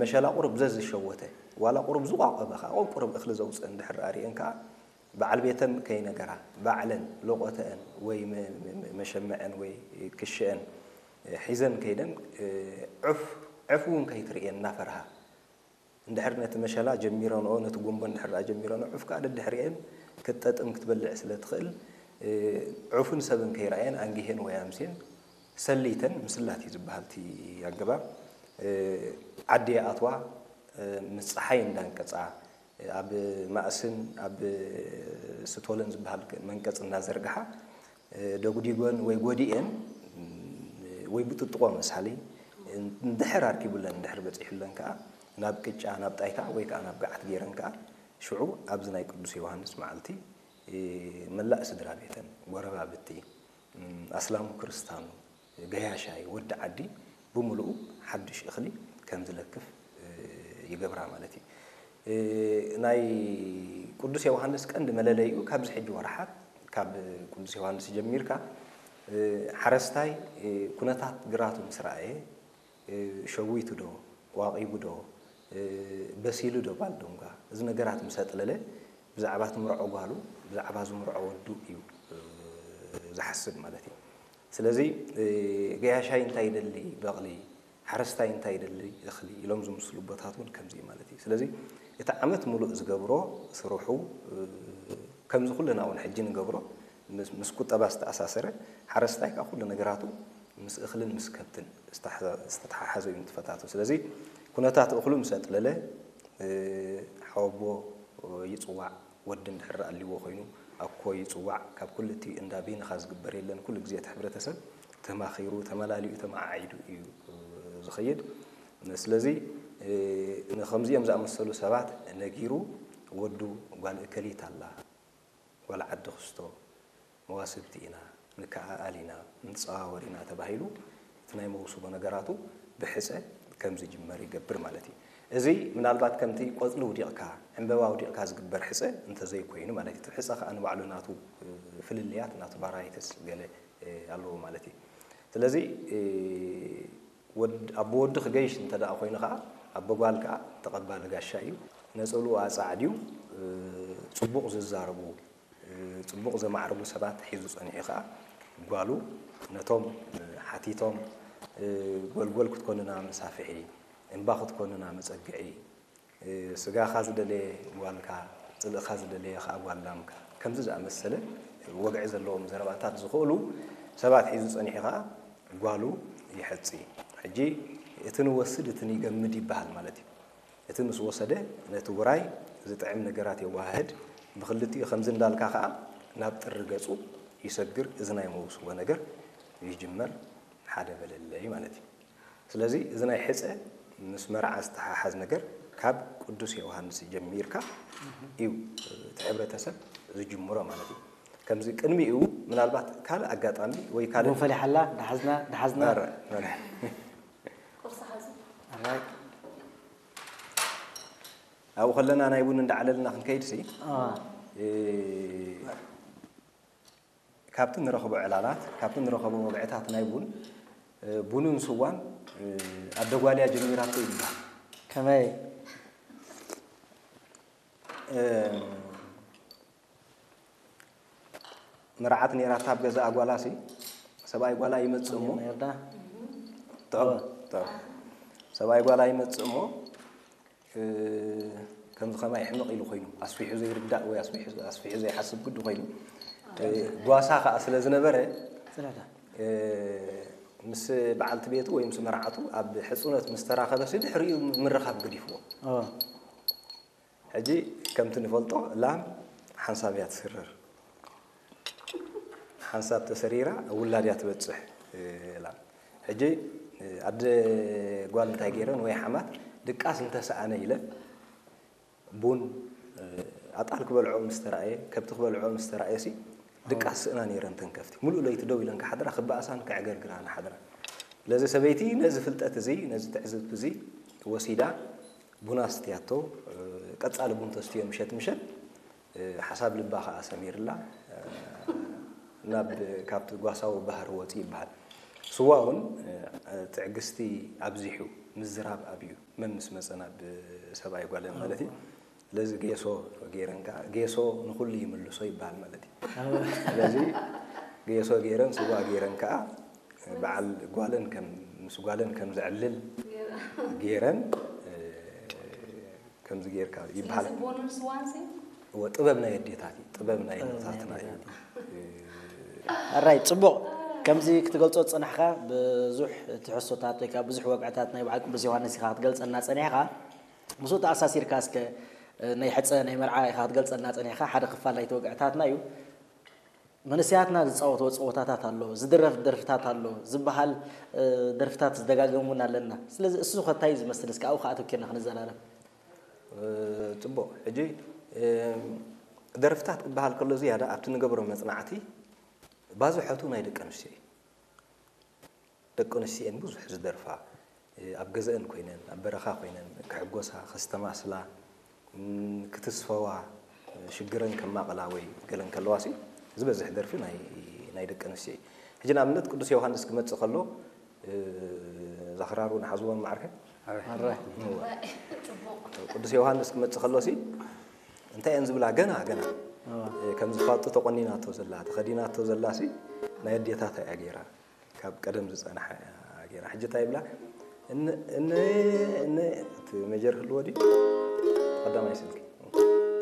መሸላ ቁሩብ ዘዝሸወተ ዋላ ቁሩብ ዝቋቆበ ከዓ ቁሩብ እኽሊ ዘውፅእ እንድሕር ኣርእየን ከዓ በዓል ቤተን ከይነገራ ባዕለን ሎቆተአን ወይ መሸመዐን ወይ ክሸአን ሒዘን ከይደን ዕፍ ዕፍ እውን ከይትርእየን እናፈርሃ እንድሕር ነቲ መሸላ ጀሚረንኦ ነቲ ጉንቦ እንድሕር ጀሚረንኦ ዑፍ ከዓ ደድሕሪአን ክትጠጥም ክትበልዕ ስለ ትኽእል ዑፍን ሰብን ከይረኣየን ኣንጊሄን ወይ ኣምስየን ሰሊተን ምስላት እዩ ዝበሃል እቲ ኣገባብ ዓዲ ይኣትዋ ምስ ፀሓይ እንዳንቀፃ ኣብ ማእስን ኣብ ስቶለን ዝበሃል መንቀፅ እንዳዘርግሓ ደጉዲጎን ወይ ጎዲኤን ወይ ብጥጥቆ መሳሊ እንድሕር ኣርኪቡለን እንድሕር በፂሑለን ከዓ ናብ ቅጫ ናብ ጣይታ ወይ ከዓ ናብ ገዓት ገይረን ከዓ ሽዑ ኣብዚ ናይ ቅዱስ ዮሃንስ መዓልቲ መላእ ስድራ ቤተን ጎረባብቲ ኣስላሙ ክርስታኑ ገያሻይ ወዲ ዓዲ ብምሉኡ ሓድሽ እኽሊ ከም ዝለክፍ ይገብራ ማለት እዩ። ናይ ቅዱስ ዮሃንስ ቀንዲ መለለይኡ ካብዚ ሕጂ ወርሓት ካብ ቅዱስ ዮሃንስ ጀሚርካ ሓረስታይ ኩነታት ግራቱ ምስ ረኣየ ሸዊቱ ዶ ዋቒቡ ዶ በሲሉ ዶ ባልዶንጓ እዚ ነገራት ምስ ኣጥለለ ብዛዕባ ትምርዖ ጓሉ ብዛዕባ ዝምርዖ ወዱ እዩ ዝሓስብ ማለት እዩ። ስለዚ ገያሻይ እንታይ ይደሊ በቕሊ ሓረስታይ እንታይ ይደሊ እኽሊ ኢሎም ዝምስሉ ቦታት እውን ከምዚ ማለት እዩ። ስለዚ እቲ ዓመት ሙሉእ ዝገብሮ ስርሑ ከምዚ ኩልና እውን ሕጂ ንገብሮ ምስ ቁጠባ ዝተኣሳሰረ ሓረስታይ ካብ ኩሉ ነገራቱ ምስ እኽልን ምስ ከብትን ዝተተሓሓዘ እዩ ንጥፈታቱ። ስለዚ ኩነታት እኽሉ ምስ ኣጥለለ ሓወቦ ይፅዋዕ ወዲ እንድሕር ኣልዎ ኮይኑ ኣኮ ይፅዋዕ ካብ ኩሉ እቲ እንዳ ቤንኻ ዝግበር የለን ኩሉ ግዜ እቲ ሕብረተሰብ ተማኺሩ ተመላሊኡ ተመዓዒዱ እዩ ዝኸይድ። ስለዚ ንከምዚኦም ዝኣመሰሉ ሰባት ነጊሩ ወዱ ጓል እከሊት ኣላ ጓል ዓዲ ክስቶ መዋስብቲ ኢና ንከኣኣል ኢና ንፀዋወር ኢና ተባሂሉ እቲ ናይ መውስቦ ነገራቱ ብሕፀ ከም ዝጅመር ይገብር ማለት እዩ። እዚ ምናልባት ከምቲ ቆፅሊ ውዲቕካ ዕምበባ ውዲቕካ ዝግበር ሕፀ እንተዘይኮይኑ ማለት እዩ። እቲ ሕፀ ከዓ ንባዕሉ ናቱ ፍልልያት ናቱ ቫራይትስ ገለ ኣለዎ ማለት እዩ። ስለዚ ኣቦ ወዲ ክገይሽ እንተ ደኣ ኮይኑ ከዓ ኣቦ ጓል ከዓ ተቐባሊ ጋሻ እዩ። ነፀልኡ ኣፃዕድዩ ፅቡቕ ዝዛረቡ ፅቡቕ ዘማዕርጉ ሰባት ሒዙ ፀኒሑ ከዓ ጓሉ ነቶም ሓቲቶም ጎልጎል ክትኮንና መሳፍሒ እምባ ክትኮንና መፀግዒ ስጋኻ ዝደለየ ጓልካ ፅልእኻ ዝደለየ ከዓ ጓል ላምካ ከምዚ ዝኣመሰለ ወግዒ ዘለዎም ዘረባታት ዝኽእሉ ሰባት ሒዙ ፀኒሑ ከዓ ጓሉ ይሐፂ። ሕጂ እቲ ንወስድ እቲ ንገምድ ይበሃል ማለት እዩ። እቲ ምስ ወሰደ ነቲ ውራይ ዝጥዕም ነገራት የወሃህድ፣ ብኽልቲኡ ከምዚ እንዳልካ ከዓ ናብ ጥሪ ገፁ ይሰግር። እዚ ናይ መውስቦ ነገር ይጅመር ሓደ በለለይ ማለት እዩ። ስለዚ እዚ ናይ ሕፀ ምስ መርዓ ዝተሓሓዝ ነገር ካብ ቅዱስ ዮሃንስ ጀሚርካ እዩ እቲ ሕብረተሰብ ዝጅምሮ ማለት እዩ። ከምዚ ቅድሚኡ ምናልባት ካልእ ኣጋጣሚ ወይ ካልእ ቡን ፈሊሓላ ደሓዝና ደሓዝና ኧረ፣ ኧረ። ኣብኡ ከለና ናይ ቡን እንዳዓለልና ክንከይድ ሲ ካብቲ ንረኽቦ ዕላላት ካብቲ ንረኸቦ ወግዕታት ናይ ቡን ቡንን ስዋን ኣደጓልያ ጀሚራቶ ይበሃል። ከመይ መርዓት ነይራታ ኣብ ገዛኣ ጓላ ሲ ሰብኣይ ጓላ ይመፅእ እሞ ነርዳ ጥዑም ጥዑም ሰብኣይ ጓላ ይመፅእ እሞ ከምዚ ከማይ ሕምቕ ኢሉ ኮይኑ ኣስፊሑ ዘይርዳእ ወይ ኣስፊሑ ዘይሓስብ ግዲ ኮይኑ ጓሳ ከዓ ስለ ዝነበረ ምስ በዓልቲ ቤቱ ወይ ምስ መርዓቱ ኣብ ሕፁነት ምስ ተራኸበ ሲ ድሕሪኡ ምርኻብ ገዲፍዎ ሕጂ ከምቲ ንፈልጦ ላም ሓንሳብ እያ ትስረር ሓንሳብ ተሰሪራ ውላድ እያ ትበፅሕ ላም ሕጂ ኣደ ጓል እንታይ ገይረን ወይ ሓማት ድቃስ እንተሰኣነ ኢለን ቡን ኣጣል ክበልዖ ምስ ተራእየ ከብቲ ክበልዖ ምስ ተራእየ ሲ ድቃስ ስእና ነይረን ተን ከፍቲ ሙሉእ ለይቲ ደው ኢለን ክሓድራ ክበኣሳን ከዕገርግራን ሓድራ ስለዚ ሰበይቲ ነዚ ፍልጠት እዚ ነዚ ትዕዝብቲ እዚ ወሲዳ ቡን ኣስትያቶ ቀፃሊ ቡን ተስትዮ ምሸት ምሸት ሓሳብ ልባ ከዓ ሰሚርላ ናብ ካብቲ ጓሳዊ ባህሪ ወፂ ይበሃል ስዋ እውን ትዕግስቲ ኣብዚሑ ምዝራብ ኣብዩ መምስ መፀና ብሰብኣይ ጓለን ማለት እዩ። ስለዚ ጌሶ ገይረን ከዓ ጌሶ ንኩሉ ይምልሶ ይበሃል ማለት እዩ። ስለዚ ጌሶ ገይረን ስዋ ገይረን ከዓ በዓል ጓለን ከም ምስ ጓለን ከም ዘዕልል ገይረን ከምዚ ጌርካ ይበሃል። ስለዚ ቡንን ስዋን ሲ እወ ጥበብ ናይ ኣዴታት እዩ። ጥበብ ናይ ኣዴታትና እዩ። ኣራይ ጽቡቕ። ከምዚ ክትገልጾ ዝጸናሕካ ብዙሕ ትሕዝቶታት ወይ ከዓ ብዙሕ ወግዕታት ናይ በዓል ቅዱስ ዮሃንስ ኢኻ ክትገልጸልና ጸኒሕካ። ምስኡ ተኣሳሲርካ እስከ ናይ ሕጸ ናይ መርዓ ኢኻ ክትገልጸልና ጸኒሕካ ሓደ ክፋል ናይቲ ወግዕታትና እዩ። መንእሰያትና ዝጻወትዎ ጸወታታት ኣሎ፣ ዝድረፍ ደርፍታት ኣሎ፣ ዝበሃል ደርፍታት ዝደጋገም እውን ኣለና። ስለዚ እሱ ከ እንታይ እዩ ዝመስል? እስከ ኣብኡ ከኣ ኣተኪርና ክንዘራረብ። ጽቡቕ። ሕጂ ደርፍታት ክበሃል ከሎ ዝያዳ ኣብቲ ንገብሮ መጽናዕቲ ባዝሖቱ ናይ ደቂ ኣንስትዮ እዩ። ደቂ ኣንስትዮ እየን ብዙሕ ዝደርፋ። ኣብ ገዘአን ኮይነን ኣብ በረኻ ኮይነን ክሕጎሳ ከስተማስላ ክትስፈዋ ሽግረን ከማቕላ ወይ ገለን ከለዋ ሲ ዝበዝሕ ደርፊ ናይ ደቂ ኣንስትዮ እዩ። ሕጂ ንኣብነት ቅዱስ ዮሃንስ ክመፅእ ከሎ ዛኽራሩ ንሓዝዎም ማዕርከ ቅዱስ ዮሃንስ ክመፅእ ከሎ ሲ እንታይ እየን ዝብላ ገና ገና ከም ዝፋጡ ተቆኒናቶ ዘላ ተኸዲናቶ ዘላ ሲ ናይ ኣዴታታ እያ ገይራ። ካብ ቀደም ዝጸንሐ ገይራ ሕጂ እንታይ ይብላ እነ እነ እቲ መጀር ህልዎ ድዩ ቀዳማይ ስልኪ